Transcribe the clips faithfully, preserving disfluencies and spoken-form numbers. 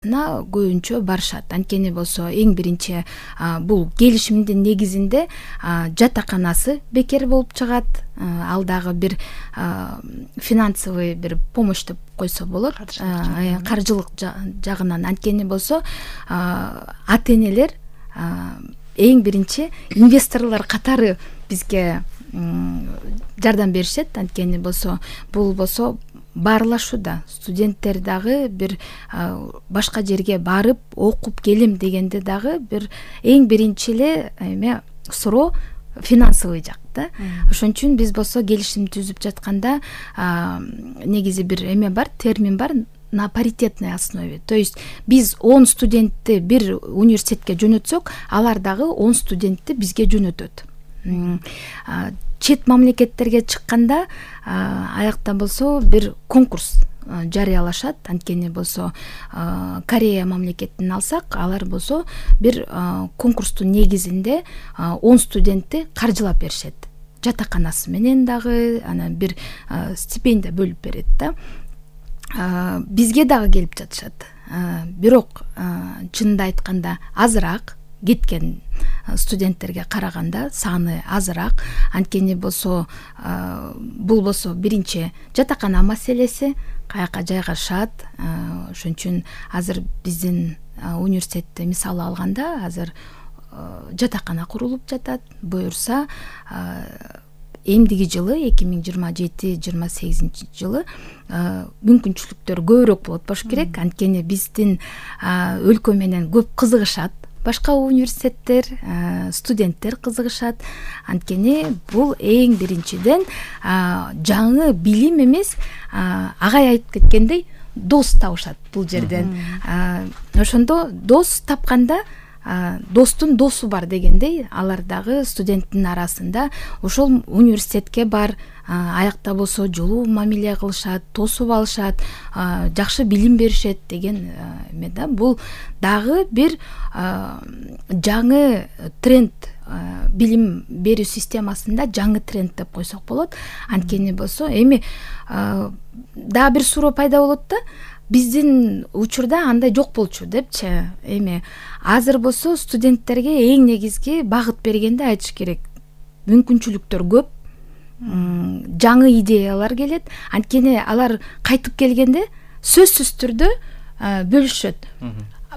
көбүнчө барышат. Анткени болсо эң биринчи бул келишимдин негизинде жатаканасы бекер болуп чыгат. Ал дагы бир финансовый бир помощь деп койсо болот, каржылык жагынан. Анткени болсо ата-энелер эң биринчи инвесторлор катары бизге жардам беришет. Анткени болсо бул болсо баарлашууда студенттер дагы бир башка жерге барып окуп келем дегенде дагы бир эң биринчи эле эме суроо финансовый жак да. Ошон үчүн биз болсо келишим түзүп жатканда негизи бир эме бар, термин бар, на паритетной основе. То есть биз он студентти бир университетке жөнөтсөк, алар дагы он студентти бизге жөнөтөт. Чет мамлекеттерге чыкканда аякта болсо бир конкурс жарыялашат. Анткени болсо Корея мамлекетин алсак, алар болсо бир конкурстун негизинде он студентти каржылап беришет. Жатаканасы менен дагы анан бир стипендия бөлүп берет да. Бизге дагы келип жатышат. Бирок чынында айтканда азыраак кеткен студенттерге караганда саны азыраак. Анткени болсо бул болсо биринчи жатакана маселеси, каяка жайгашат. Ошон үчүн азыр биздин университетти мисалы алганда азыр жатакана курулуп жатат. Буюрса эмдиги жылы эки миң жыйырма жети жыйырма сегизинчи жылы мүмкүнчүлүктөр көбүрөөк болот болуш керек. Анткени биздин өлкө менен көп кызыгышат. Башка университеттер, студенттер кызыгышат. Анткени бул эң биринчиден жаңы билим эмес, агай айтып кеткендей, дос табышат бул жерден. Ошондо дос тапканда достун досу бар дегендей, алар дагы студенттин арасында ошол университетке бар, аякта болсо жолуу мамиле кылышат, тосуп алышат, жакшы билим беришет деген эме да. Бул дагы бир жаңы тренд, билим берүү системасында жаңы тренд деп койсок болот. Анткени болсо эми дагы бир суроо пайда болот да. Биздин учурда андай жок болчу депчи. Эми азыр болсо студенттерге эң негизги багыт бергенде айтыш керек. Мүмкүнчүлүктөр көп, жаңы идеялар келет. Анткени алар кайтып келгенде сөзсүз түрдө бөлүшөт.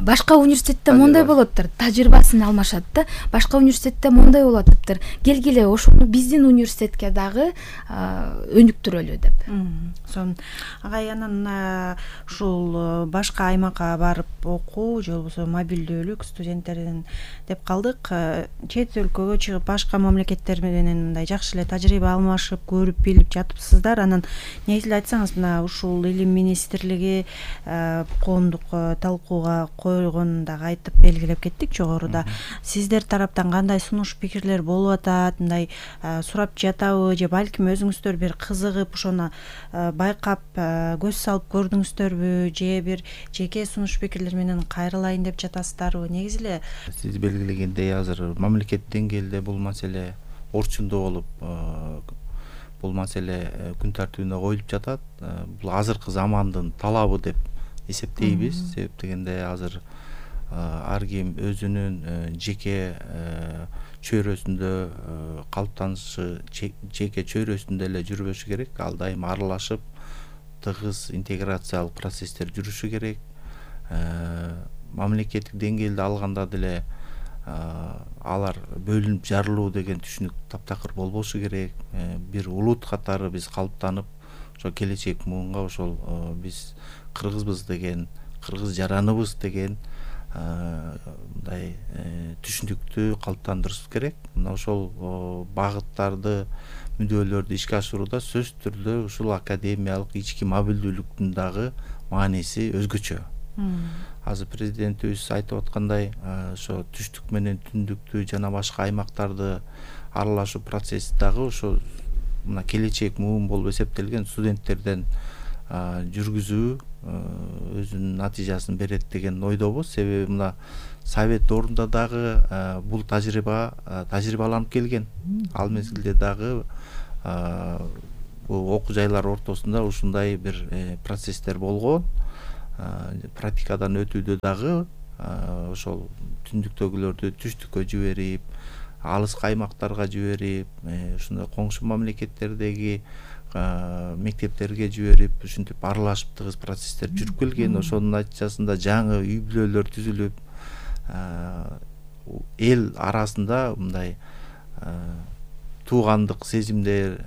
Башка университетте мондай болоттур, тажрыйбасын алмашат да. Башка университетте мондай болот дептир. Келгиле ошону биздин университетке дагы өнүктүрөлү деп. Сон агай анан ушул башка аймакка барып окуу же болбосо мобилдүүлүк студенттердин деп калдык. Чет өлкөгө чыгып башка мамлекеттер менен мындай жакшы эле тажрыйба алмашып, көрүп билип жатыпсыздар. Анан негизи эле айтсаңыз, мына ушул илим министрлиги коомдук талкууга койгонун дагы айтып белгилеп кеттик жогоруда. Сиздер тараптан кандай сунуш пикирлер болуп атат, мындай сурап жатабы же балким өзүңүздөр бир кызыгып ошону байкап көз салып көрдүңүздөрбү же бир жеке сунуш пикирлер менен кайрылайын деп жатасыздарбы? Негизи эле сиз белгилегендей азыр мамлекет деңгээлде бул маселе орчундуу болуп, бул маселе күн тартибине коюлуп жатат. Бул азыркы замандын талабы деп эсептейбиз. Себеп дегенде азыр ар ким өзүнүн жеке чөйрөсүндө калыптанышы, жеке чөйрөсүндө эле жүрбөшү керек. Ал дайым аралашып, тыгыз интеграциялык процесстер жүрүшү керек. Мамлекеттик деңгээлде алганда деле алар бөлүнүп жарылуу деген түшүнүк таптакыр болбошу керек. Бир улут катары биз калыптанып, ошо келечек муунга ошол биз кыргызбыз деген, кыргыз жараныбыз деген мындай түшүнүктү калыптандырышыбыз керек. Мына ошол багыттарды, мүдделөрдү ишке ашырууда сөзсүз түрдө ушул академиялык ички мобилдүүлүктүн дагы мааниси өзгөчө. Азыр президентибиз айтып аткандай, ошо түштүк менен түндүктү жана башка аймактарды аралашуу процесси дагы ошо мына келечек муун болуп эсептелген студенттерден жүргүзүү өзүнүн натыйжасын берет деген ойдобуз. Себеби мына совет ордунда дагы бул тажрыйба тажрыйбаланып келген. Ал мезгилде дагы бул окуу жайлар ортосунда ушундай бир процесстер болгон. практикадан өтүүдө дагы ошол түндүктөгүлөрдү түштүккө жиберип, алыскы аймактарга жиберип, ушундай коңшу мамлекеттердеги мектептерге жиберип, ушинтип аралашып тыгыз процесстер жүрүп келген. Ошонун натыйжасында жаңы үй бүлөлөр түзүлүп, эл арасында мындай туугандык сезимдер,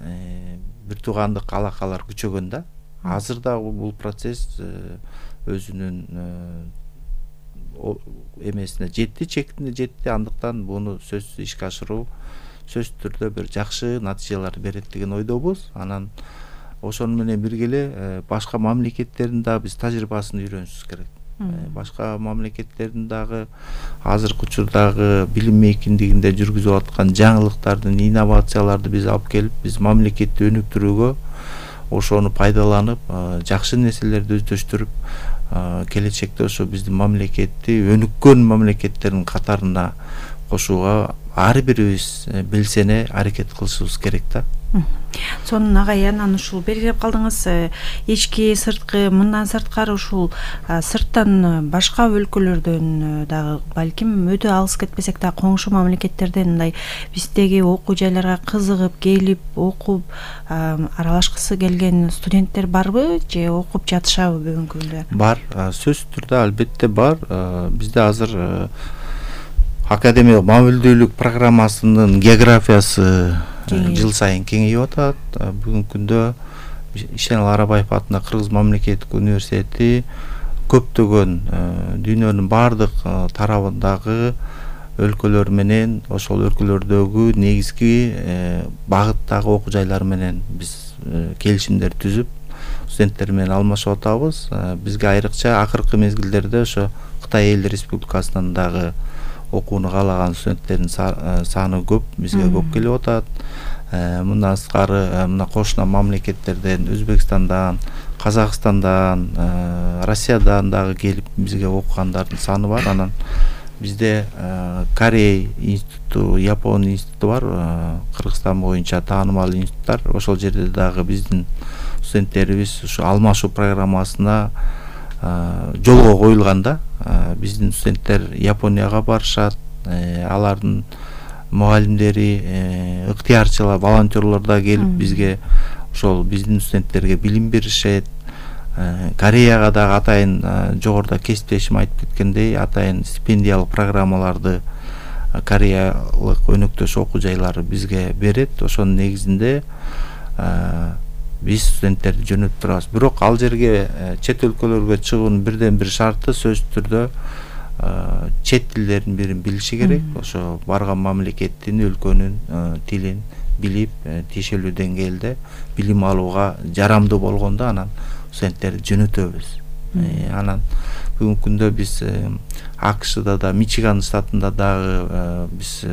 бир туугандык алакалар күчөгөн да. Азыр да бул процесс өзүнүн эмесине жетти, чектине жетти. Андыктан буну сөзсүз ишке ашыруу сөзсүз түрдө бир жакшы натыйжалар берет деген ойдобуз. Анан ошону менен бирге эле башка мамлекеттердин да биз тажрыйбасын үйрөнүшүбүз керек. Башка мамлекеттердин дагы азыркы учурдагы билим мейкиндигинде жүргүзүп аткан жаңылыктардын, инновацияларды биз алып келип, биз мамлекетти өнүктүрүүгө ошону пайдаланып, жакшы нерселерди өздөштүрүп, келечекте ошо биздин мамлекетти өнүккөн мамлекеттердин катарына кошууга ар бирибиз белсене аракет кылышыбыз керек да. Сонун агай, анан ушул белгилеп калдыңыз, ички сырткы, мындан сырткары ушул сырттан башка өлкөлөрдөн дагы балким өтө алыс кетпесек да коңшу мамлекеттерден мындай биздеги окуу жайларга кызыгып келип окуп аралашкысы келген студенттер барбы же окуп жатышабы бүгүнкү күндө? Бар, сөзсүз түрдө албетте бар. Бизде азыр академиялык мобилдүүлүк программасынын географиясы жыл сайын кеңейип атат. Бүгүнкү күндө Ишенал Арабаев атындагы Кыргыз мамлекеттик университети көптөгөн дүйнөнүн бардык тарабындагы өлкөлөр менен, ошол өлкөлөрдөгү негизги багыттагы окуу жайлар менен биз келишимдер түзүп, студенттер менен алмашып атабыз. Бизге айрыкча акыркы мезгилдерде ошо Кытай Эл Республикасынан дагы окууну каалаган студенттердин саны көп, бизге көп келип атат. Мындан сырткары мына кошуна мамлекеттерден, Өзбекстандан, Казакстандан, Россиядан дагы келип бизге окугандардын саны бар. Анан бизде Корей институту, Япон институту бар, Кыргызстан боюнча таанымал институттар. Ошол жерде дагы биздин студенттерибиз ушу алмашуу программасына жолго коюлганда, биздин студенттер Японияга барышат, алардын мугалимдери, ыктыярчылар, волонтерлор да келип бизге ошол биздин студенттерге билим беришет. Кореяга дагы атайын жогоруда кесиптешим айтып кеткендей, атайын стипендиялык программаларды кореялык өнөктөш окуу жайлары бизге берет. Ошонун негизинде биз студенттерди жөнөтүп турабыз. Бирок ал жерге чет өлкөлөргө чыгуунун бирден бир шарты сөзсүз түрдө чет тилдердин бирин билиши керек. Ошо барган мамлекеттин, өлкөнүн тилин билип, тиешелүү деңгээлде билим алууга жарамдуу болгондо анан студенттерди жөнөтөбүз. Анан бүгүнкү күндө биз АКШда да, Мичиган штатында дагы биз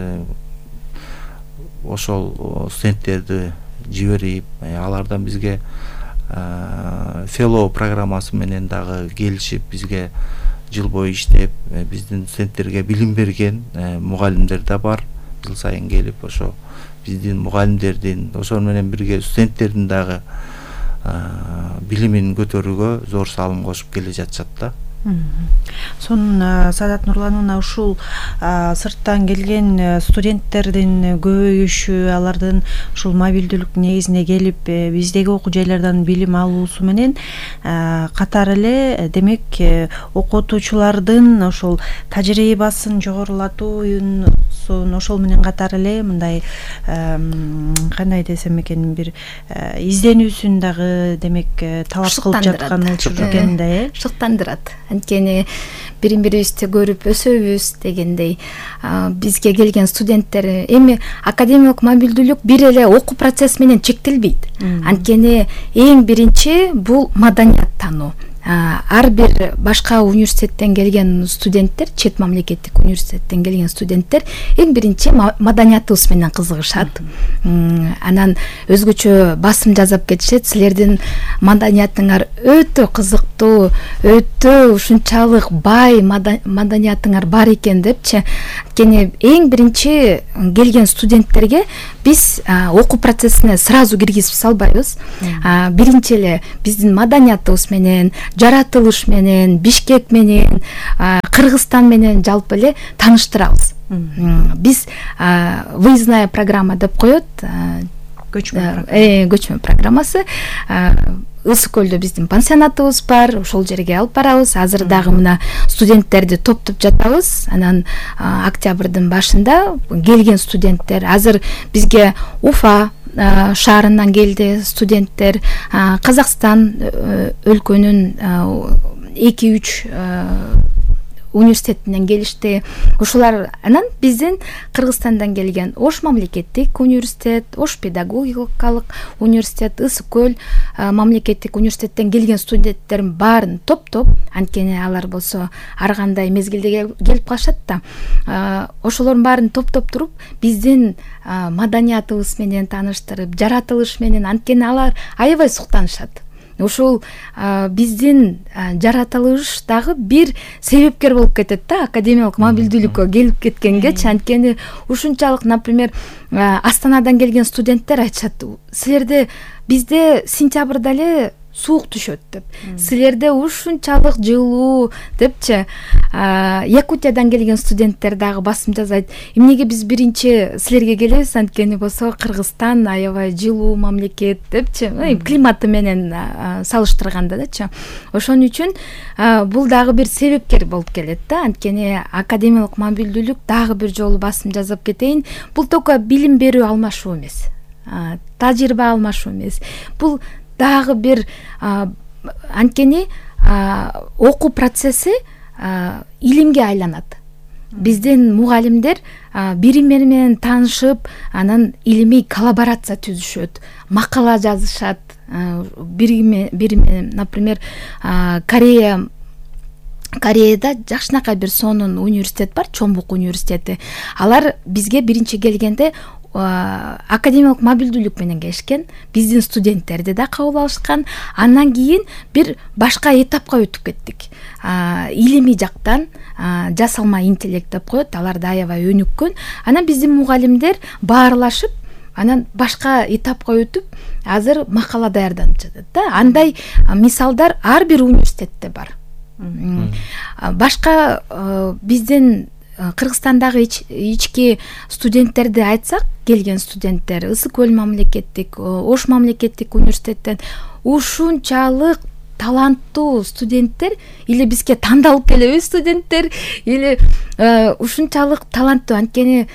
ошол студенттерди жиберип, алардан бизге fellow программасы менен дагы келишип, бизге жыл бою иштеп, биздин студенттерге билим берген мугалимдер да бар. Жыл сайын келип, ошо биздин мугалимдердин, ошол менен бирге студенттердин дагы билимин көтөрүүгө зор салым кошуп келе жатышат да. Сонун Саадат Нурлановна, ушул сырттан келген студенттердин көбөйүшү, алардын ушул мобилдүүлүк негизине келип биздеги окуу жайлардан билим алуусу менен катар эле демек окутуучулардын ошол тажрыйбасын жогорулатуун, ошол менен катар эле мындай кандай десем экен, бир изденүүсүн дагы демек талап кылып жаткан учур экен да, э? Шыктандырат. Анткени бирин бирибизди көрүп өсөбүз дегендей, бизге келген студенттер эми академиялык мобилдүүлүк бир эле окуу процесси менен чектелбейт. Анткени эң биринчи бул маданият таануу. Ар бир башка университеттен келген студенттер, чет мамлекеттик университеттен келген студенттер эң биринчи маданиятыбыз менен кызыгышат. Анан өзгөчө басым жазып кетишет, силердин маданиятыңар өтө кызыктуу, өтө ушунчалык бай маданиятыңар бар экен депчи. Анткени эң биринчи келген студенттерге биз окуу процессине сразу киргизип салбайбыз. Биринчи эле биздин маданиятыбыз менен, жаратылыш менен, Бишкек менен, Кыргызстан менен жалпы эле тааныштырабыз. Биз выездная программа деп коет, көчмө программасы. Ысык көлдө биздин пансионатыбыз бар, ошол жерге алып барабыз. Азыр дагы мына студенттерди топтоп жатабыз. Анан октябрдын башында келген студенттер азыр бизге Уфа шаарынан келди студенттер, Казакстан өлкөнүн эки үч университетинен келишти. Ошолар анан биздин Кыргызстандан келген Ош мамлекеттик университет, Ош педагогикалык университет, Ысык көл мамлекеттик университеттен келген студенттердин баарын топтоп, анткени алар болсо ар кандай мезгилде келип калышат да. Ошолордун баарын топтоп туруп, биздин маданиятыбыз менен тааныштырып, жаратылыш менен, анткени алар аябай суктанышат. Ошол биздин жаратылыш дагы бир себепкер болуп кетет да, академиялык мобилдүүлүккө келип кеткенгечи. Анткени ушунчалык, например, Астанадан келген студенттер айтышат, силерде бизде сентябрда эле суук түшөт деп, силерде ушунчалык жылуу депчи. Якутиядан келген студенттер дагы басым жасайт, эмнеге биз биринчи силерге келебиз, анткени болсо Кыргызстан аябай жылуу мамлекет депчи, климаты менен салыштырганда дачы. Ошон үчүн бул дагы бир себепкер болуп келет да. Анткени академиялык мобилдүүлүк, дагы бир жолу басым жасап кетейин, бул только билим берүү алмашуу эмес, тажрыйба алмашуу эмес. Бул дагы бир, анткени окуу процесси илимге айланат. Биздин мугалимдер бири бири менен таанышып, анан илимий коллаборация түзүшөт, макала жазышат. Бири бири менен, например, Корея Кореяда жакшынакай бир сонун университет бар, Чомбук университети. Алар бизге биринчи келгенде академиялык мобилдүүлүк менен келишкен, биздин студенттерди да кабыл алышкан. Андан кийин бир башка этапка өтүп кеттик. Илимий жактан жасалма интеллект деп коет, аларда аябай өнүккөн. Анан биздин мугалимдер баарлашып, анан башка этапка өтүп, азыр макала даярданып жатат да. Андай мисалдар ар бир университетте бар. Башка биздин Кыргызстандагы ички студенттерди айтсак, келген студенттер Ысык көл мамлекеттик, Ош мамлекеттик университеттен ушунчалык таланттуу студенттер, или бизге тандалып келеби студенттер, или ушунчалык таланттуу, анткени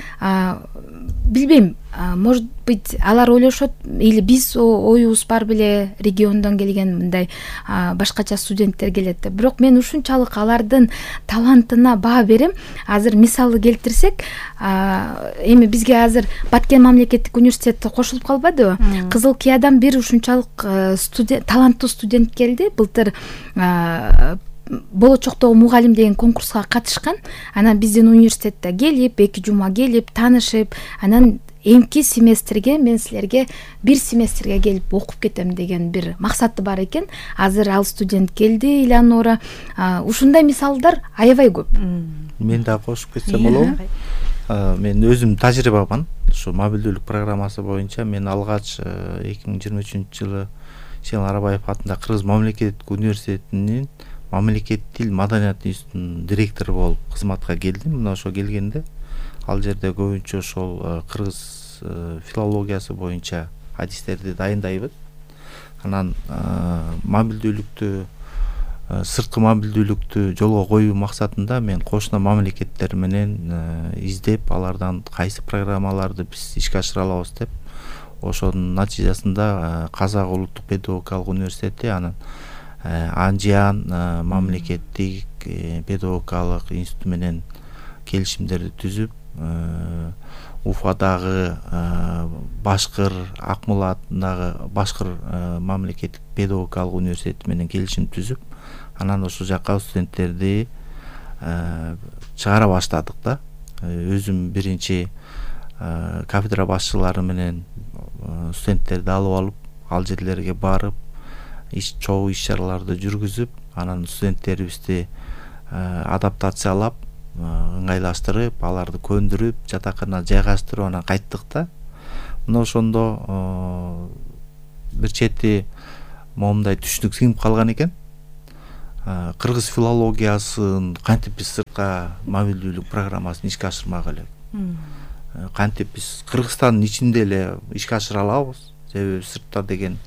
билбейм, может быть, алар ойлошот, или биз оюбуз бар беле, региондон келген мындай башкача студенттер келет деп. Бирок мен ушунчалык алардын талантына баа берем. Азыр мисалы келтирсек, эми бизге азыр Баткен мамлекеттик университети кошулуп калбадыбы? Кызыл Киядан бир ушунчалык студент, таланттуу студент келди. Былтыр болочоктогу мугалим деген конкурска катышкан. Анан биздин университетте келип, эки жума келип, таанышып, анан эмки семестрге мен силерге бир семестрге келип окуп кетем деген бир максаты бар экен. Азыр ал студент келди, Элеонора. Ушундай мисалдар аябай көп. Мен да кошуп кетсем болобу? Мен өзүм тажрыйбаман. Ушу мобилдүүлүк программасы боюнча мен алгач эки миң жыйырма үчүнчү жылы Сейил Арабаев атындагы Кыргыз мамлекеттик университетинин мамлекет тил маданият институтунун директору болуп кызматка келдим. Мына ошо келгенде ал жерде көбүнчө ошол кыргыз филологиясы боюнча адистерди дайындайбыз. Анан мобилдүүлүктү, сырткы мобилдүүлүктү жолго коюу максатында мен кошуна мамлекеттер менен издеп, алардан кайсы программаларды биз ишке ашыра алабыз деп, ошонун натыйжасында Казак улуттук педагогикалык университети, анан Анжиан мамлекеттик педагогикалык институту менен келишимдерди түзүп, Уфадагы Башкыр, Акмола атындагы Башкыр мамлекеттик педагогикалык университети менен келишим түзүп, анан ошол жака студенттерди чыгара баштадык да. Өзүм биринчи кафедра башчылары менен студенттерди алып алып, ал жерлерге барып, иш чогуу иш-чараларды жүргүзүп, анан студенттерибизди адаптациялап, ыңгайлаштырып, аларды көндүрүп, жатакана жайгаштырып, анан кайттык да. Мына ошондо бир чети момундай түшүнүк сиңип калган экен. кыргыз филологиясын кантип биз сыртка мобилдүүлүк программасын ишке ашырмак элек, кантип биз Кыргызстандын ичинде эле ишке ашыра алабыз, себеби сыртта деген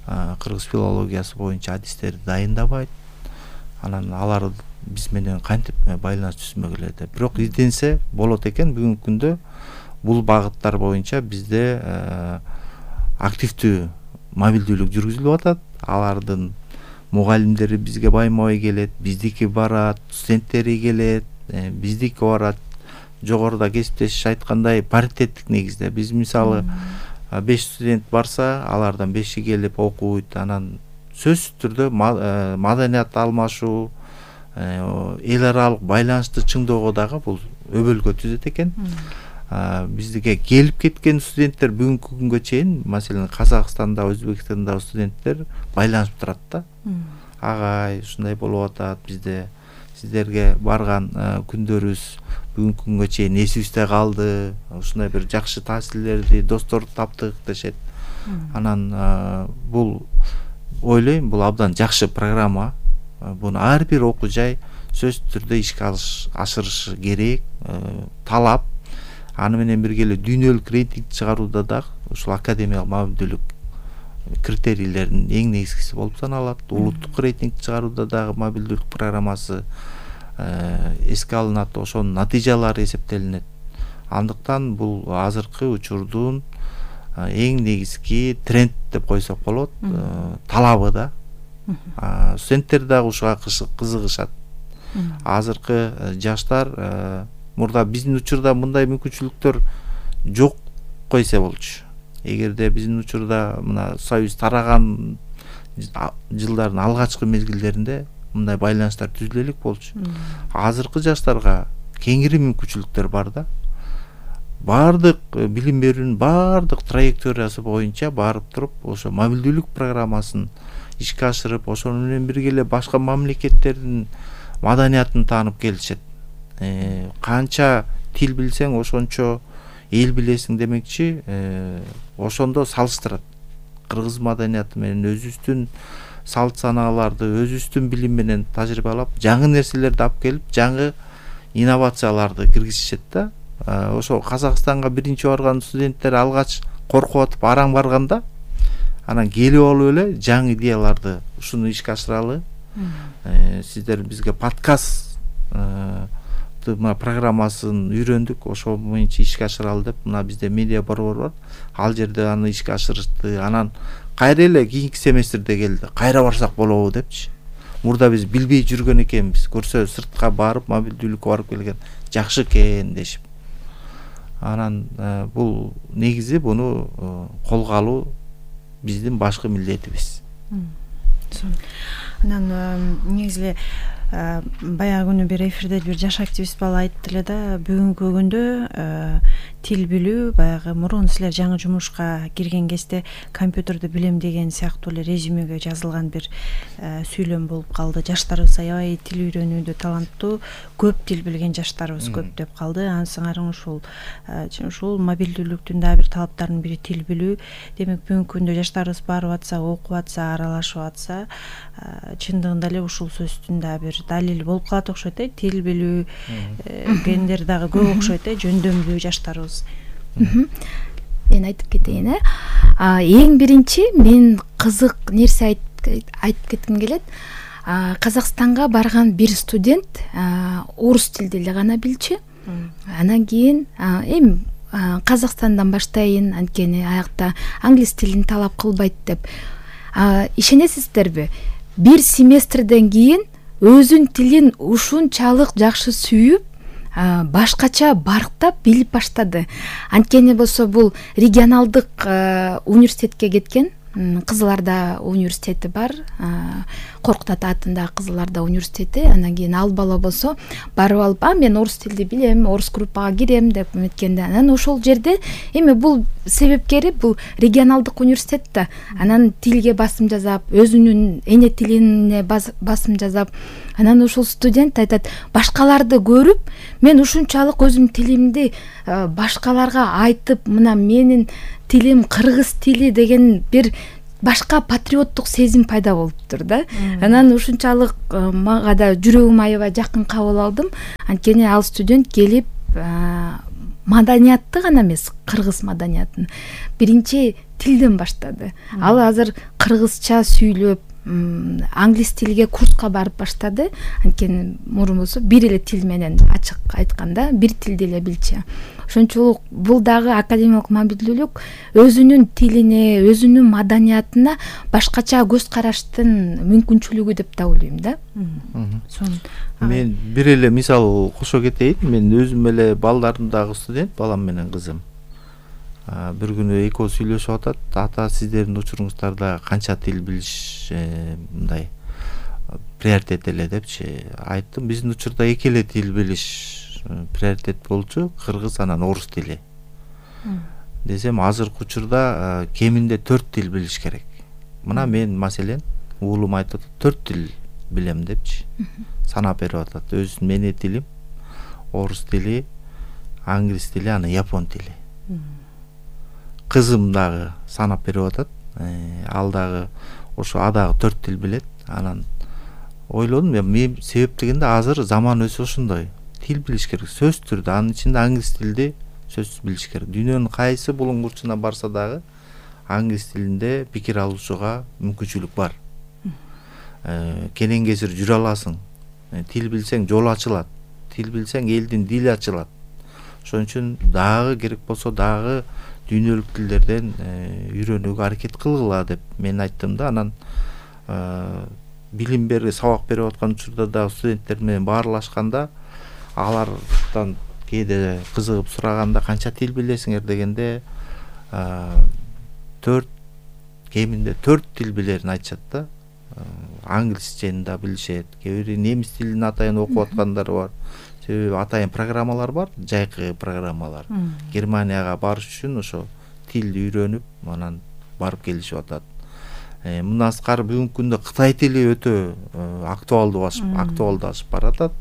кыргыз филологиясы боюнча адистерди дайындабайт, анан алар биз менен кантип байланыш түзмөк эле деп. Бирок изденсе болот экен. Бүгүнкү күндө бул багыттар боюнча бизде активдүү мобилдүүлүк жүргүзүлүп атат. Алардын мугалимдери бизге байма-бай келет, биздики барат, студенттери келет, биздики барат. Жогоруда кесиптешиш айткандай паритеттик негизде. Биз мисалы беш студент барса, алардан беши келип окуйт, анан сөзсүз түрдө маданият алмашуу, эл аралык байланышты чыңдоого дагы бул өбөлгө түзөт экен. Биздике келип кеткен студенттер бүгүнкү күнгө чейин, маселен Казакстанда, Өзбекстанда студенттер байланышып турат да. Агай, ушундай болуп атат, бизде сиздерге барган күндөрүбүз бүгүнкү күнгө чейин эсибизде калды, ушундай бир жакшы таасирлерди, досторду таптык дешет. Анан бул ойлойм, бул абдан жакшы программа. Буну ар бир окуу жай сөзсүз түрдө ишке ашырышы керек, талап. Аны менен бирге эле дүйнөлүк рейтинг чыгарууда дагы ушул академиялык мобилдүүлүк критерийлеринин эң негизгиси болуп саналат. Улуттук рейтинг чыгарууда дагы мобилдүүлүк программасы эске алынат, ошонун натыйжалары эсептелинет. Андыктан бул азыркы учурдун эң негизги тренд деп койсок болот, талабы да. Студенттер дагы ушуга кызыгышат. Азыркы жаштар, мурда биздин учурда мындай мүмкүнчүлүктөр жок койсо болчу. Эгерде биздин учурда мына союз тараган жылдардын алгачкы мезгилдеринде мындай байланыштар түзүлө элек болчу. Азыркы жаштарга кеңири мүмкүнчүлүктөр бар да. Бардык билим берүүнүн бардык траекториясы боюнча барып туруп, ошо мобилдүүлүк программасын ишке ашырып, ошону менен бирге эле башка мамлекеттердин маданиятын таанып келишет. Канча тил билсең, ошончо эл билесиң демекчи, ошондо салыштырат. Кыргыз маданияты менен өзүбүздүн салт санааларды, өзүбүздүн билим менен тажрыйбалап, жаңы нерселерди алып келип, жаңы инновацияларды киргизишет да. Ошо Казакстанга биринчи барган студенттер алгач коркуп атып араң барганда, анан келип алып эле жаңы идеяларды ушуну ишке ашыралы. Сиздер бизге подкаст программасын үйрөндүк, ошо боюнча ишке ашыралы деп, мына бизде медиа борбор бар. Ал жерде аны ишке ашырышты. Анан кайра эле кийинки семестрде келди. Кайра барсак болобу депчи. Мурда биз билбей жүргөн экенбиз. Көрсө сыртка барып, мобилдүүлүккө барып келген жакшы экен дешип. Анан бул негизи буну колго алуу биздин башкы милдетибиз. Анан негизи баягы күнү бир эфирде бир жаш активист бала айтты эле да, бүгүнкү күндө тил билүү баягы мурун силер жаңы жумушка кирген кезде компьютерди билем деген сыяктуу эле резюмеге жазылган бир сүйлөм болуп калды. Жаштарыбыз аябай тил үйрөнүүдө таланттуу, көп тил билген жаштарыбыз көп деп калды. Ансыңарын ушул ушул мобилдүүлүктүн да бир талаптарынын бири тил билүү. Демек бүгүнкү күндө жаштарыбыз барып атса, окуп атса, аралашып атса, чындыгында эле ушул сөздүн да бир далили болуп калат окшойт э. Тил билүү, гендер дагы көп окшойт э, жөндөмдүү жаштарыбыз. Мен айтып кетейин э. Эң биринчи мен кызык нерсе айтып кетким келет. Казакстанга барган бир студент орус тилди эле гана билчү. Анан кийин эми Казакстандан баштайын, анткени аякта англис тилин талап кылбайт деп. Ишенесиздерби? Бир семестрден кийин өзүн тилин ушунчалык жакшы сүйүп, башкача барктап билип баштады. Анткени болсо бул регионалдык университетке кеткен. Кызыларда университети бар, Коркут ата атындагы Кызыларда университети. Анан кийин ал бала болсо барып алып, а мен орус тилди билем, орус группага кирем деп эметкенде, анан ошол жерде эми бул себепкери бул регионалдык университет да. Анан тилге басым жасап, өзүнүн эне тилине басым жасап, анан ошол студент айтат, башкаларды көрүп, мен ушунчалык өзүмдүн тилимди башкаларга айтып, мына менин тилим кыргыз тили деген бир башка патриоттук сезим пайда болуптур да. Анан ушунчалык мага да жүрөгүм аябай жакын кабыл алдым. Анткени ал студент келип маданиятты гана эмес, кыргыз маданиятын биринчи тилден баштады. Ал азыр кыргызча сүйлөп, англис тилге курска барып баштады. Анткени мурун болсо бир эле тил менен ачык айтканда бир тилди эле билчү. Ошончолук бул дагы академиялык мобилдүүлүк өзүнүн тилине, өзүнүн маданиятына башкача көз караштын мүмкүнчүлүгү деп да ойлойм да. Мен бир эле мисал кошо кетейин. Мен өзүм эле балдарымдагы студент, балам менен кызым. Бир күнү экөө сүйлөшүп атат. Ата, сиздердин учуруңуздарда канча тил билиш мындай приоритет эле депчи. Айттым, биздин учурда эки эле тил билиш приоритет болчу, кыргыз анан орус тили. Десем, азыркы учурда кеминде төрт тил билиш керек. Мына мен маселен уулум айтып атат, төрт тил билем депчи. Санап берип атат. Өзүнүн менин тилим, орус тили, англис тили, анан япон тили. Кызым дагы санап берип атат. Ал дагы ошо адагы төрт тил билет. Анан ойлодум, мен себеп дегенде азыр заман өзү ошондой. Тил билиш керек, сөз түрдө, анын ичинде англис тилди сөзсүз билиш керек. Дүйнөнүн кайсы булуңгурчуна барса дагы англис тилинде пикир алышууга мүмкүнчүлүк бар. Кенен кесир жүрө аласың. Тил билсең жол ачылат. Тил билсең элдин дили ачылат. Ошон үчүн дагы керек болсо дагы дүйнөлүк тилдерден үйрөнүүгө аракет кылгыла деп мен айттым да. Анан билим берип, сабак берип аткан учурда да студенттер менен баарлашканда алардан кээде кызыгып сураганда канча тил билесиңер дегенде төрт, кеминде төрт тил билерин айтышат да. Англисчени да билишет, кээ бири немис тилин атайын окуп аткандар бар. Себеби атайын программалар бар, жайкы программалар. Германияга барыш үчүн ошо тилди үйрөнүп, анан барып келишип атат. Мындан сырткары бүгүнкү күндө Кытай тили өтө актуалдашып, актуалдашып баратат.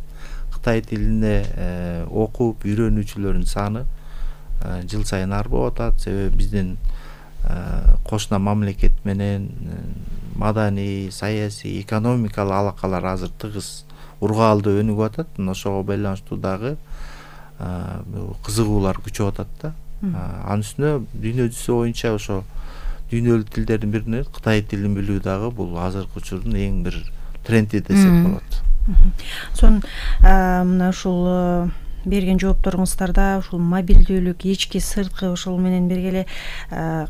Кытай тилине окуп үйрөнүүчүлөрдүн саны жыл сайын арбап атат. Себеби биздин кошуна мамлекет менен маданий, саясий, экономикалык алакалар азыр тыгыз ургаалдуу өнүгүп атат. Ошого байланыштуу дагы кызыгуулар күчөп атат да. Анын үстүнө дүйнө жүзү боюнча ошо дүйнөлүк тилдердин биринен Кытай тилин билүү дагы бул азыркы учурдун эң бир тренди десек болот. Сон мына ушул берген жоопторуңуздарда ушул мобилдүүлүк, ички сырткы ошол менен бирге эле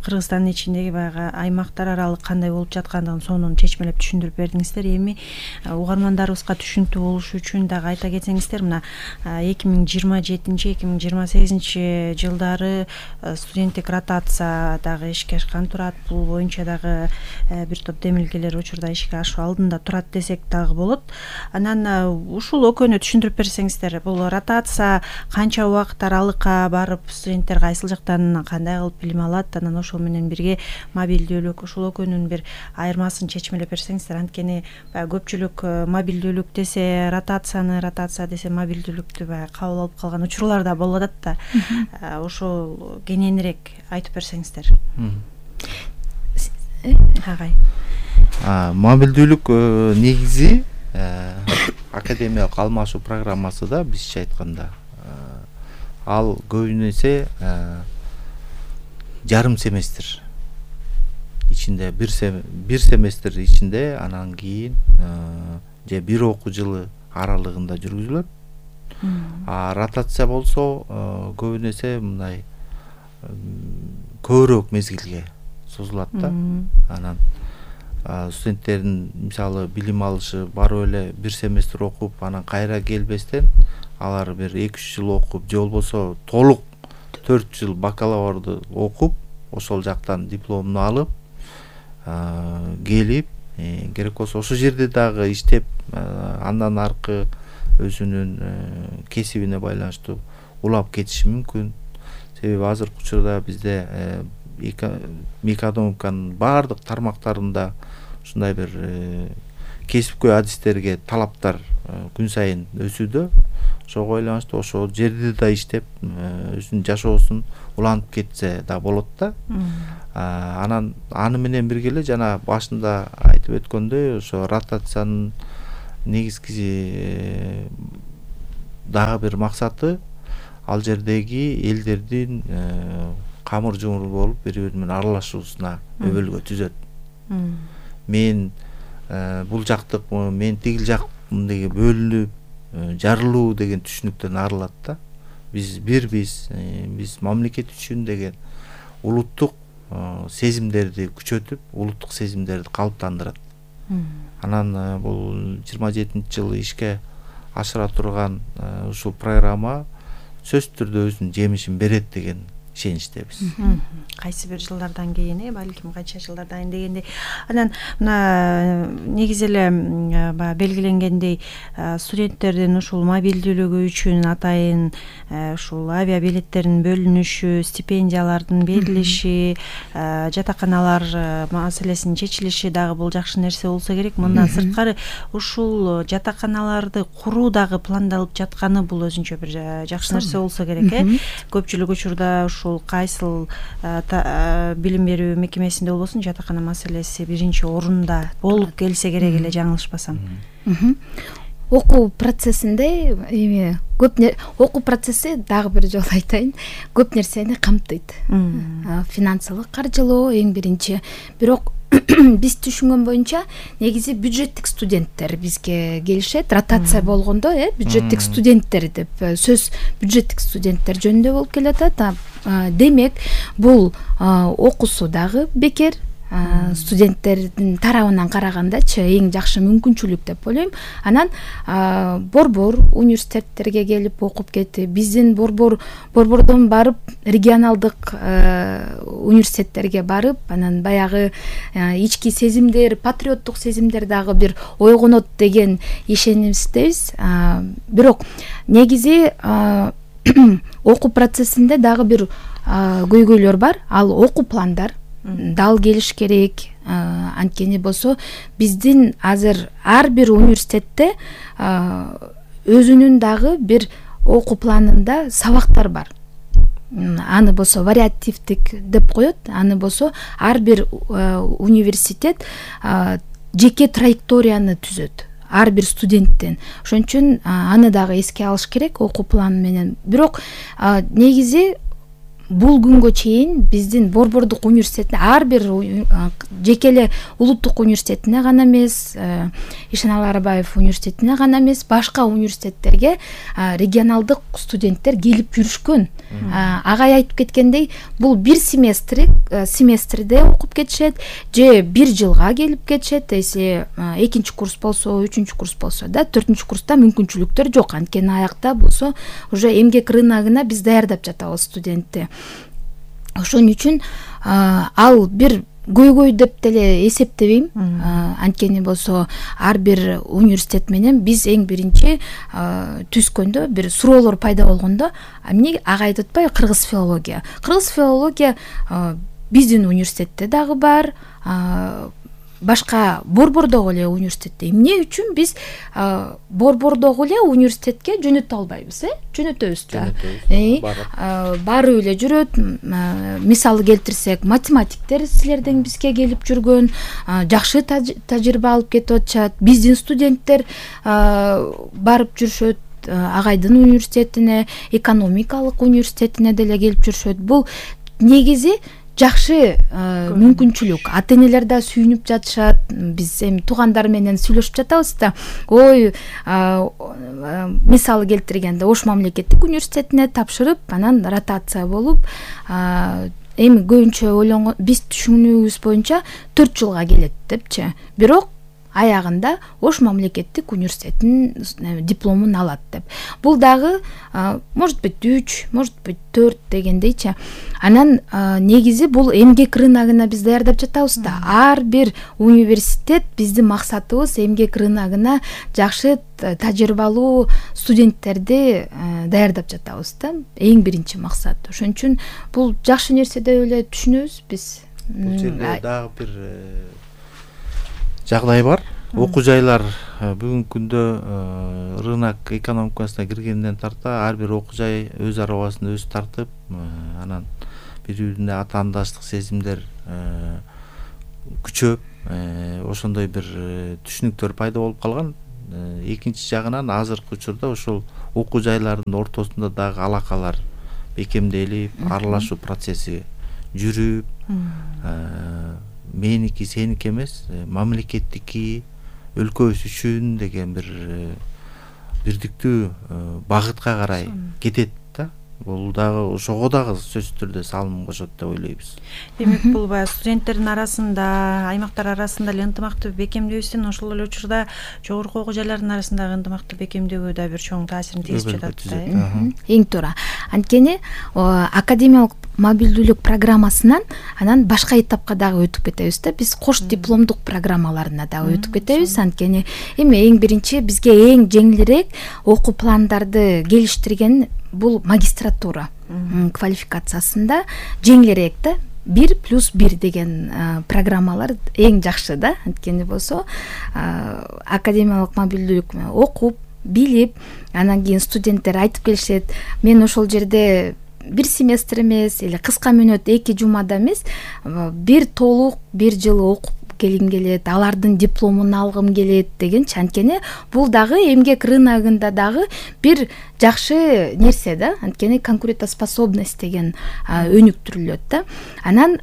Кыргызстандын ичиндеги баягы аймактар аралык кандай болуп жаткандыгын сонун чечмелеп түшүндүрүп бердиңиздер. Эми угармандарыбызга түшүнүктүү болушу үчүн дагы айта кетсеңиздер, мына эки миң жыйырма жетинчи эки миң жыйырма сегизинчи жылдары студенттик ротация дагы ишке ашкан турат. Бул боюнча дагы бир топ демилгелер учурда ишке ашуу алдында турат десек дагы болот. Анан ушул экөөнү түшүндүрүп берсеңиздер, бул ротация канча убакыт аралыкка барып студенттер кайсыл жактан кандай кылып билим алат, анан ошол менен бирге мобилдүүлүк, ушул экөөнүн бир айырмасын чечмелеп берсеңиздер. Анткени баягы көпчүлүк мобилдүүлүк десе ротацияны, ротация десе мобилдүүлүктү баягы кабыл алып калган учурлар да болуп атат да. Ошол кененирээк айтып берсеңиздер. Агай. Мобилдүүлүк негизи академиялык алмашуу программасы да бизче айтканда ал көбүнө эсе жарым семестр ичинде, бир бир семестр ичинде, анан кийин же бир окуу жылы аралыгында жүргүзүлөт. А ротация болсо көбүнө эсе мындай көбүрөөк мезгилге созулат да. Анан студенттердин мисалы билим алышы барып эле бир семестр окуп, анан кайра келбестен алар бир эки үч жыл окуп, же болбосо толук төрт жыл бакалаврды окуп, ошол жактан дипломун алып келип, керек болсо ошол жерде дагы иштеп, андан аркы өзүнүн кесибине байланыштуу улап кетиши мүмкүн. Себеби азыркы учурда бизде экономиканын баардык тармактарында ушундай бир кесипкөй адистерге талаптар күн сайын өсүүдө. Ошого байланыштуу ошол жерде да иштеп өзүнүн жашоосун улантып кетсе да болот да. Анан аны менен бирге эле жана башында айтып өткөндөй ошо ротациянын негизги дагы бир максаты ал жердеги элдердин камыр жумур болуп бири бири менен аралашуусуна өбөлгө түзөт. Мен бул жактыкмын, мен тигил жакмын деген бөлүнүп жарылуу деген түшүнүктөн арылат да. Биз бирбиз, биз мамлекет үчүн деген улуттук сезимдерди күчөтүп, улуттук сезимдерди калыптандырат. Анан бул жыйырма жетинчи жылы ишке ашыра турган ушул программа сөзсүз түрдө өзүнүн жемишин берет деген ишеничтебиз. Кайсы бир жылдардан кийин, э, балким канча жылдардан кийин дегенде, анан мына негизи эле баягы белгиленгендей студенттердин ушул мобилдүүлүгү үчүн атайын ушул авиа билеттердин бөлүнүшү, стипендиялардын берилиши, жатаканалар маселесинин чечилиши дагы бул жакшы нерсе болсо керек. Мындан сырткары ушул жатаканаларды куруу дагы пландалып жатканы бул өзүнчө бир жакшы нерсе болсо керек, э. Көпчүлүк учурда ушул кайсыл билим берүү мекемесинде болбосун жатакана маселеси биринчи орунда болуп келсе керек эле, жаңылышпасам. Окуу процессинде эми көп окуу процесси дагы бир жолу айтайын, көп нерсени камтыйт. Финансылык каржылоо эң биринчи. Бирок биз түшүнгөн боюнча негизи бюджеттик студенттер бизге келишет. Ротация болгондо, э, бюджеттик студенттер деп сөз бюджеттик студенттер жөнүндө болуп келатат. Демек, бул окуусу дагы бекер. Студенттердин тарабынан карагандачы эң жакшы мүмкүнчүлүк деп ойлойм. Анан борбор университеттерге келип окуп кетти. Биздин борбор борбордон барып регионалдык университеттерге барып, анан баягы ички сезимдер, патриоттук сезимдер дагы бир ойгонот деген ишенимиздебиз. Бирок негизи окуу процессинде дагы бир көйгөйлөр бар. Ал окуу пландар дал келиш керек. Анткени болсо биздин азыр ар бир университетте өзүнүн дагы бир окуу планында сабактар бар. Аны болсо вариативдик деп коет. Аны болсо ар бир университет жеке траекторияны түзөт ар бир студенттен. Ошон үчүн аны дагы эске алыш керек окуу планы менен. Бирок негизи бул күнгө чейин биздин борбордук университетте ар бир жеке эле улуттук университетине гана эмес, Ишеналы Арбаев университетине гана эмес, башка университеттерге регионалдык студенттер келип жүрүшкөн. Агай айтып кеткендей, бул бир семестр семестрде окуп кетишет, же бир жылга келип кетишет. Эси экинчи курс болсо, үчүнчү курс болсо да, төртүнчү курста мүмкүнчүлүктөр жок. Анткени аякта болсо уже эмгек рыногуна биз даярдап жатабыз студентти. Ошон үчүн ал бир көйгөй деп деле эсептебейм. Анткени болсо ар бир университет менен биз эң биринчи түзкөндө бир суроолор пайда болгондо, эмне агайды атпайбы, кыргыз филология. Кыргыз филология биздин университетте дагы бар, башка борбордогу эле университетте. Эмне үчүн биз борбордогу эле университетке жөнөтө албайбыз, э? Жөнөтөбүз да. Барып эле жүрөт. Мисалы келтирсек, математиктер силерден бизге келип жүргөн, жакшы тажрыйба алып кетип атышат. Биздин студенттер барып жүрүшөт. Агайдын университетине, экономикалык университетине деле келип жүрүшөт. Бул негизи жакшы мүмкүнчүлүк. Ата-энелер да сүйүнүп жатышат. Биз эми туугандар менен сүйлөшүп жатабыз да. Ой, мисалы келтиргенде Ош мамлекеттик университетине тапшырып, анан ротация болуп, эми көбүнчө ойлонгон, биз түшүнүүбүз боюнча төрт жылга келет депчи. Бирок аягында Ош мамлекеттик университетинин дипломун алат деп. Бул дагы может быть үч, может быть төрт дегендейчи. Анан негизи бул эмгек рыногуна биз даярдап жатабыз да. Ар бир университет биздин максатыбыз эмгек рыногуна жакшы тажрыйбалуу студенттерди даярдап жатабыз да. Эң биринчи максат. Ошон үчүн бул жакшы нерсе деп эле түшүнөбүз биз. Бул жерде дагы бир жагдай бар. окуу жайлар бүгүнкү күндө рынок экономикасына киргенден тарта ар бир окуу жай өз арабасында өзү тартып, анан бири бирине атаандаштык сезимдер күчөп, ошондой бир түшүнүктөр пайда болуп калган. Экинчи жагынан азыркы учурда ошол окуу жайлардын ортосунда дагы алакалар бекемделип, аралашуу процесси жүрүп, меники сеники эмес, мамлекеттики, өлкөбүз үчүн деген бир бирдиктүү багытка карай кетет да. Бул дагы ошого дагы сөзсүз түрдө салым кошот деп ойлойбуз. Демек бул баягы студенттердин арасында, аймактар арасында эле ынтымакты бекемдөөбүздөн ошол эле учурда жогорку окуу жайлардын арасындагы ынтымакты бекемдөөгө да бир чоң таасирин тийгизип жатат да. Эң туура. Анткени академиялык мобилдүүлүк программасынан анан башка этапка дагы өтүп кетебиз да. Биз кош дипломдук программаларына дагы өтүп кетебиз. Анткени эми эң биринчи бизге эң жеңилирээк окуу пландарды келиштирген бул магистратура квалификациясында жеңилирээк да. Бир плюс бир деген программалар эң жакшы да. Анткени болсо академиялык мобилдүүлүк окуп, билип, анан кийин студенттер айтып келишет, мен ошол жерде бир семестр эмес, эле кыска мөөнөт эки жумада эмес, бир толук бир жыл окуп келгим келет, алардын дипломун алгым келет дегенчи. Анткени бул дагы эмгек рыногунда дагы бир жакшы нерсе да. Анткени конкурентоспособность деген өнүктүрүлөт да. Анан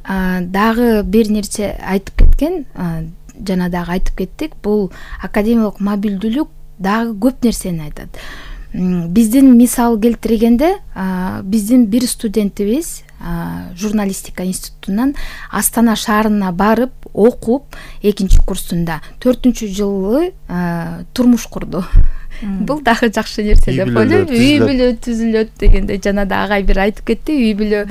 дагы бир нерсе айтып кеткен, жана дагы айтып кеттик, бул академиялык мобилдүүлүк дагы көп нерсени айтат. Биздин мисал келтиргенде, биздин бир студентибиз журналистика институтунан Астана шаарына барып окуп, экинчи курсунда төртүнчү жылы турмуш курду. Бул дагы жакшы нерсе деп ойлойм. Үй бүлө түзүлөт дегенде жана да агай бир айтып кетти, үй бүлө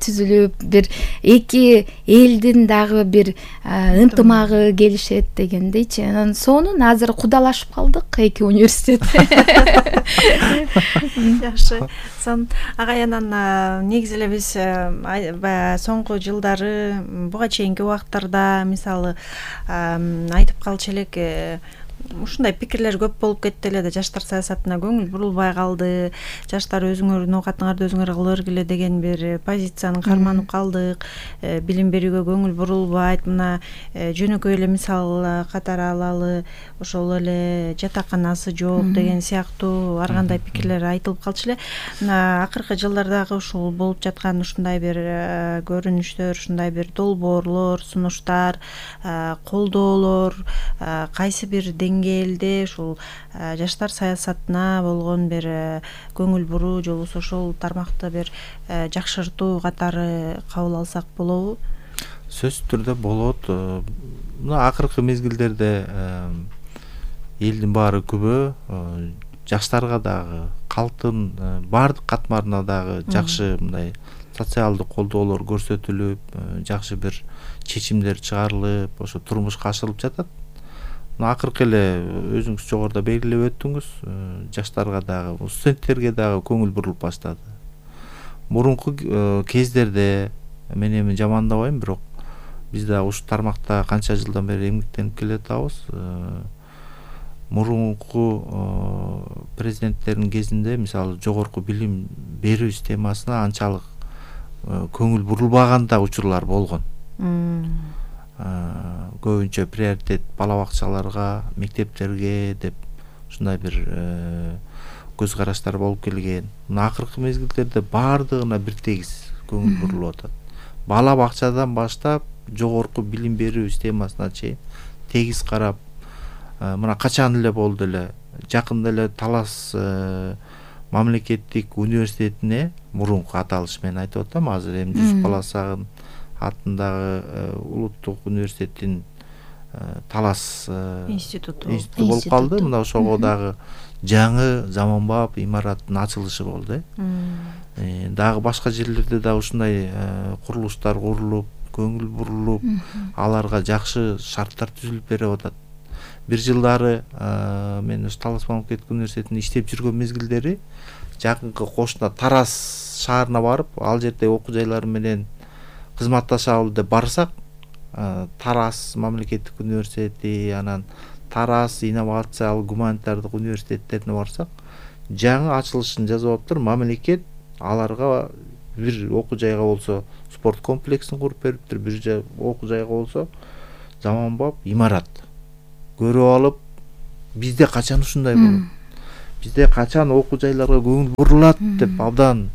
түзүлүп, бир эки элдин дагы бир ынтымагы келишет дегендейчи. Анан сонун азыр кудалашып калдык эки университет. Жакшы. Сон агай, анан негизи эле биз баягы соңку жылдары буга чейинки убактарда мисалы айтып калчу элек, ушундай пикирлер көп болуп кетти эле да, жаштар саясатына көңүл бурулбай калды, жаштар өзүңөрдүн оокатыңарды өзүңөр кыла бергиле деген бир позицияны карманып калдык, билим берүүгө көңүл бурулбайт. Мына жөнөкөй эле мисал катары алалы, ошол эле жатаканасы жок деген сыяктуу ар кандай пикирлер айтылып калчу эле. Мына акыркы жылдардагы ушул болуп жаткан ушундай бир көрүнүштөр, ушундай бир долбоорлор, сунуштар, колдоолор кайсы бир деңгээлде ушул жаштар саясатына болгон бир көңүл буруу же болбосо ошол тармакты бир жакшыртуу катары кабыл алсак болобу? Сөзсүз түрдө болот. Мына акыркы мезгилдерде элдин баары күбө, жаштарга дагы, калктын баардык катмарына дагы жакшы мындай социалдык колдоолор көрсөтүлүп, жакшы бир чечимдер чыгарылып, ошо турмушка ашырылып жатат. Акыркы эле өзүңүз жогоруда белгилеп өттүңүз, жаштарга дагы, студенттерге дагы көңүл бурулуп баштады. Мурунку кездерде мен эми жамандабайм, бирок биз да ушу тармакта канча жылдан бери эмгектенип келатабыз. Мурунку президенттердин кезинде мисалы жогорку билим берүү системасына анчалык көңүл бурулбаган да учурлар болгон. Көбүнчө приоритет бала бакчаларга, мектептерге деп ушундай бир көз караштар болуп келген. Мына акыркы мезгилдерде баардыгына бир тегиз көңүл бурулуп атат. Бала бакчадан баштап жогорку билим берүү системасына чейин тегиз карап, мына качан эле болду эле, жакында эле Талас мамлекеттик университетине, мурунку аталыш менен айтып атам, азыр эми Жүсүп Баласагын атындагы улуттук университеттин Талас институту болуп калды. Мына ошого дагы жаңы заманбап имараттын ачылышы болду. Дагы башка жерлерде да ушундай курулуштар курулуп, көңүл бурулуп, аларга жакшы шарттар түзүлүп берип атат. Бир жылдары мен ушу Талас мамлекеттик университетинде иштеп жүргөн мезгилдери жакынкы кошуна Тараз шаарына барып, ал жерде окуу жайлары менен кызматташалы деп барсак, Тараз мамлекеттик университети, анан Тараз инновациялык гуманитардык университеттерине барсак, жаңы ачылышын жасап атыптыр. Мамлекет аларга бир окуу жайга болсо спорт комплексин куруп бериптир, бир окуу жайга болсо заманбап имарат көрүп алып, бизде качан ушундай болот? Бизде качан окуу жайларга көңүл бурулат деп абдан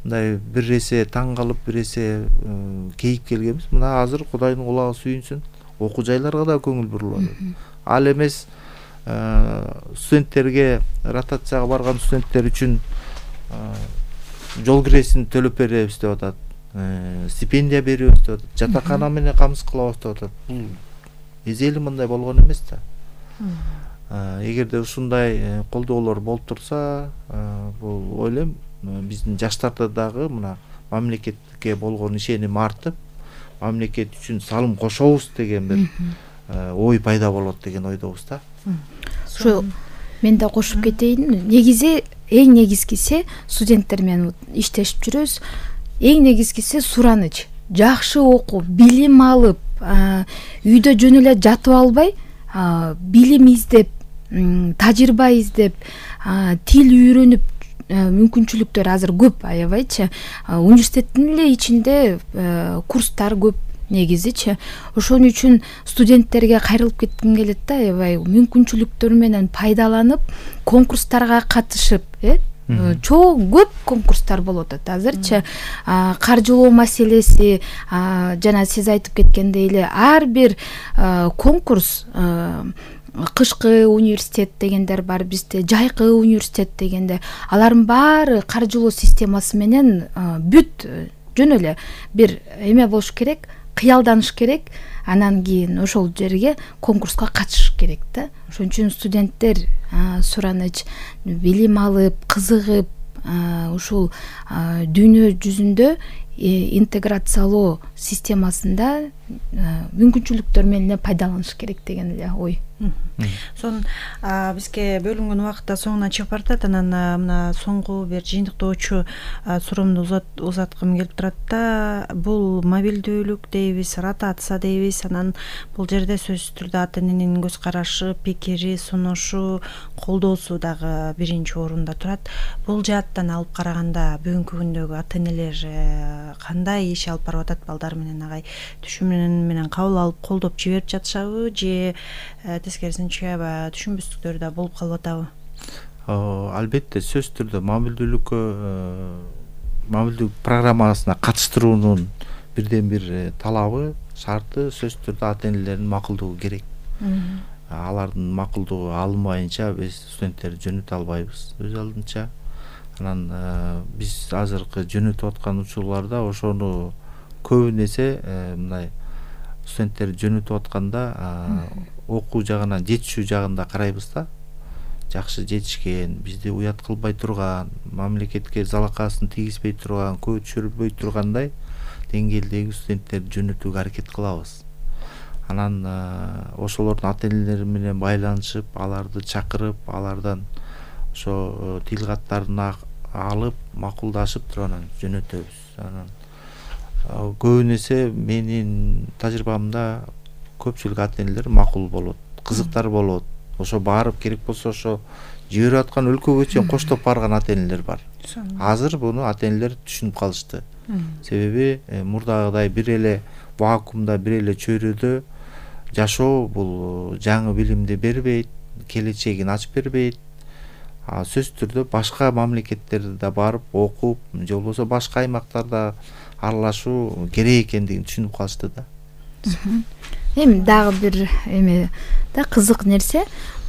мындай бир эсе таң калып, бир эсе кейип келгенбиз. Мына азыр Кудайдын кулагы сүйүнсүн, окуу жайларга да көңүл бурулат. Ал эмес студенттерге, ротацияга барган студенттер үчүн жол киресин төлөп беребиз деп атат, стипендия беребиз деп атат, жатакана менен камсыз кылабыз деп атат. Бул эзели мындай болгон эмес да. Эгерде ушундай колдоолор болуп турса, бул ойлойм биздин жаштарда дагы мына мамлекетке болгон ишеним артып, мамлекет үчүн салым кошобуз деген бир ой пайда болот деген ойдобуз да. Ошо мен да кошуп кетейин. Негизи эң негизгиси студенттер менен иштешип жүрөбүз. Эң негизгиси сураныч. Жакшы окуп, билим алып, үйдө жөн эле жатып албай, билим издеп, тажрыйба издеп, тил үйрөнүп, мүмкүнчүлүктөр азыр көп, аябайчы. Университеттин эле ичинде курстар көп негизичи. Ошон үчүн студенттерге кайрылып кетким келет да, аябай мүмкүнчүлүктөр менен пайдаланып, конкурстарга катышып, э чоң көп конкурстар болот азырчы. Каржылоо маселеси, жана сиз айтып кеткендей эле ар бир конкурс, кышкы университет дегендер бар бизде, жайкы университет дегенде, алардын баары каржылоо системасы менен бүт жөн эле бир эме болуш керек, кыялданыш керек, анан кийин ошол жерге конкурска катышыш керек да. Ошон үчүн студенттер сураныч, билим алып, кызыгып, ушул дүйнө жүзүндө интеграциялоо системасында мүмкүнчүлүктөр менен пайдаланыш керек деген эле ой. Сон бизге бөлүнгөн убакытта соңуна чыгып баратат. Анан мына соңку бир жыйынтыктоочу суроомду узаткым келип турат да. Бул мобилдүүлүк дейбиз, ротация дейбиз. Анан бул жерде сөзсүз түрдө ата эненин көз карашы, пикири, сунушу, колдоосу дагы биринчи орунда турат. Бул жааттан алып караганда бүгүнкү күндөгү ата энелер кандай иш алып барып атат балдар менен, агай түшүнүн менен кабыл алып колдоп жиберип жатышабы, же тескерисинче аябай түшүнбөстүктөр да болуп калып атабы? Албетте сөзсүз түрдө мобилдүүлүккө, мобилдүүлүк программасына катыштыруунун бирден бир талабы, шарты сөзсүз түрдө ата энелердин макулдугу керек. Алардын макулдугу алынбайынча биз студенттерди жөнөтө албайбыз өз алдынча. Анан биз азыркы жөнөтүп аткан учурларда ошону көбүн эсе мындай студенттерди жөнөтүп атканда окуу жагынан, жетишүү жагында карайбыз да. Жакшы жетишкен, бизди уят кылбай турган, мамлекетке залакасын тийгизбей турган, көчүрбөй тургандай деңгээлдеги студенттерди жөнөтүүгө аракет кылабыз. Анан ошолордун ата энелери менен байланышып, аларды чакырып, алардан ошо тил каттарын алып, макулдашып туруп анан жөнөтөбүз. Анан көбүн эсе менин тажрыйбамда көпчүлүк ата энелер макул болот, кызыктар болот. Ошо барып керек болсо ошо жиберип аткан өлкөгө чейин коштоп барган ата энелер бар. Азыр буну ата энелер түшүнүп калышты. Себеби мурдагыдай бир эле вакуумда, бир эле чөйрөдө жашоо бул жаңы билимди бербейт, келечегин ачып бербейт. Сөзсүз түрдө башка мамлекеттерде да барып окуп, же болбосо башка аймактарда аралашуу керек экендигин түшүнүп калышты да. Эми дагы бир эме да кызык нерсе,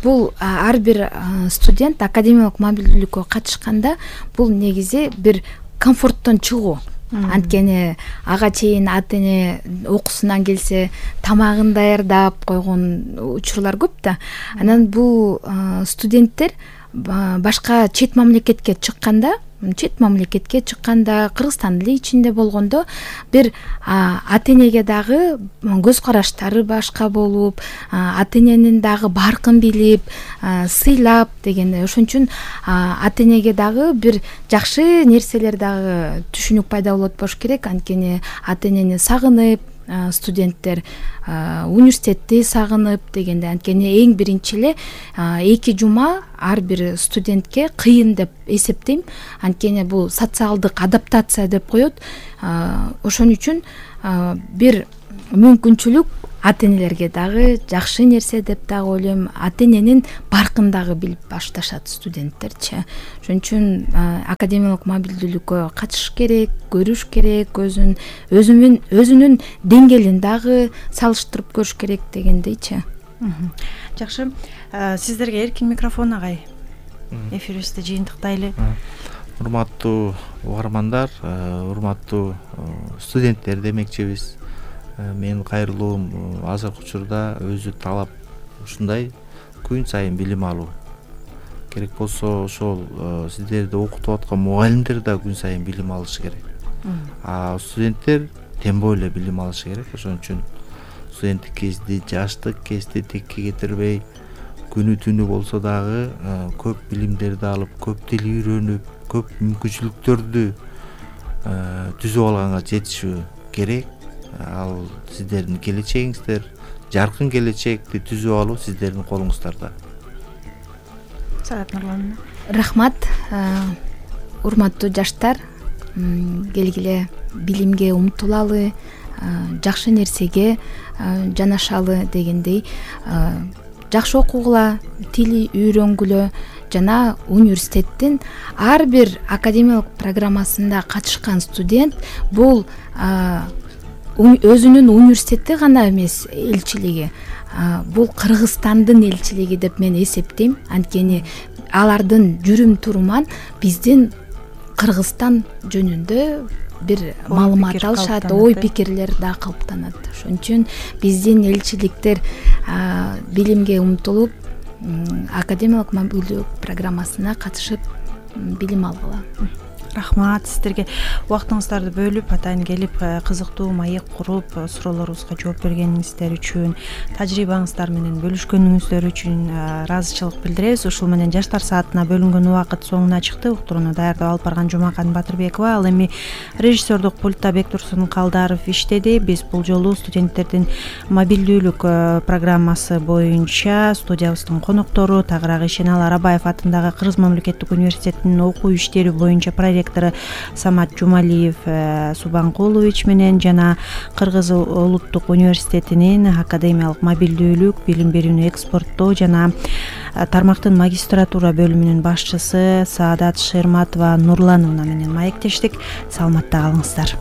бул ар бир студент академиялык мобилдүүлүккө катышканда бул негизи бир комфорттон чыгуу. Анткени ага чейин ата эне окуусунан келсе тамагын даярдап койгон учурлар көп да. Анан бул студенттер башка чет мамлекетке чыкканда, чет мамлекетке чыкканда, Кыргызстандын эле ичинде болгондо бир ата энеге дагы көз караштары башка болуп, ата эненин дагы баркын билип, сыйлап дегенде, ошон үчүн ата энеге дагы бир жакшы нерселер дагы түшүнүк пайда болот болуш керек. Анткени ата энени сагынып, студенттер университетти сагынып дегенде, анткени эң биринчи эле эки жума ар бир студентке кыйын деп эсептейм. Анткени бул социалдык адаптация деп коет. Ошон үчүн бир мүмкүнчүлүк ата энелерге дагы жакшы нерсе деп дагы ойлойм. Ата эненин баркын дагы билип башташат студенттерчи. Ошон үчүн академиялык мобилдүүлүккө катышыш керек, көрүш керек, өзүн өзүнүн өзүнүн деңгээлин дагы салыштырып көрүш керек дегендейчи. Жакшы. Сиздерге эркин микрофон, агай. Эфирибизди жыйынтыктайлы. Урматтуу угармандар, урматтуу студенттер демекчибиз. Менин кайрылуум азыркы учурда өзү талап ушундай күн сайын билим алуу. Керек болсо ошол сиздерди окутуп аткан мугалимдер да күн сайын билим алышы керек. А студенттер тембой эле билим алышы керек. Ошон үчүн студенттик кезди, жаштык кезди текке кетирбей, күнү түнү болсо дагы көп билимдерди алып, көп тил үйрөнүп, көп мүмкүнчүлүктөрдү түзүп алганга жетишүү керек. Ал сиздердин келечегиңиздер, жаркын келечекти түзүп алуу сиздердин колуңуздарда. Саат Нурлан. Рахмат. Урматтуу жаштар, келгиле билимге умтулалы, жакшы нерсеге жанашалы дегендей, жакшы окугула, тил үйрөнгүлө жана университеттин ар бир академиялык программасында катышкан студент бул өзүнүн университети гана эмес элчилиги, бул Кыргызстандын элчилиги деп мен эсептейм. Анткени алардын жүрүм туруман биздин Кыргызстан жөнүндө бир маалымат алышат, ой пикирлер да калыптанат. Ошон үчүн биздин элчиликтер билимге умтулуп, академиялык мобилдүүлүк программасына катышып билим алгыла. Рахмат сиздерге убактыңыздарды бөлүп, атайын келип, кызыктуу маек куруп, суроолорубузга жооп бергениңиздер үчүн, тажрыйбаңыздар менен бөлүшкөнүңүздөр үчүн ыраазычылык билдиребиз. Ушул менен жаштар саатына бөлүнгөн убакыт соңуна чыкты. Уктурууну даярдап алып барган Жумакан Батырбекова, ал эми режиссердук пультта Бектурсун Калдаров иштеди. Биз бул жолу студенттердин мобилдүүлүк программасы боюнча студиябыздын коноктору Тагырак Ишеналы Арабаев атындагы Кыргыз мамлекеттик университетинин окуу иштери боюнча проект Самат Жумалиев Субанкулович менен жана Кыргыз улуттук университетинин академиялык мобилдүүлүк, билим берүүнү экспорттоо жана тармактын магистратура бөлүмүнүн башчысы Саадат Шерматова Нурлановна менен маектештик. Саламатта калыңыздар.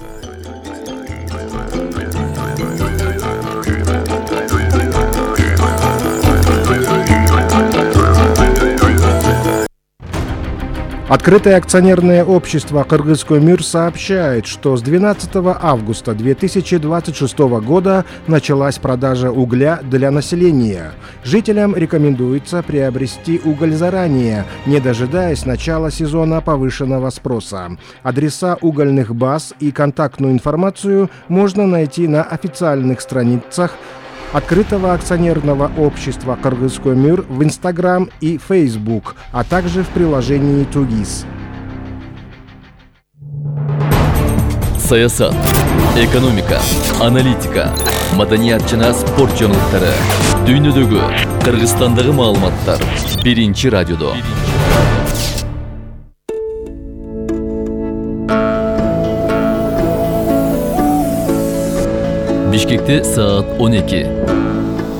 Открытое акционерное общество «Кыргызкөмүр» сообщает, что с двенадцатого августа две тысячи двадцать шестого года началась продажа угля для населения. Жителям рекомендуется приобрести уголь заранее, не дожидаясь начала сезона повышенного спроса. Адреса угольных баз и контактную информацию можно найти на официальных страницах Открытого акционерного общества «Кыргызкөмүр» в Инстаграм и Фейсбук, а также в приложении Тугис. Саясат, экономика, аналитика, маданият жана спорт жаңылыктары, дүйнөдөгү, Кыргызстандагы маалыматтар биринчи радиодо. Бишкекте саат он эки.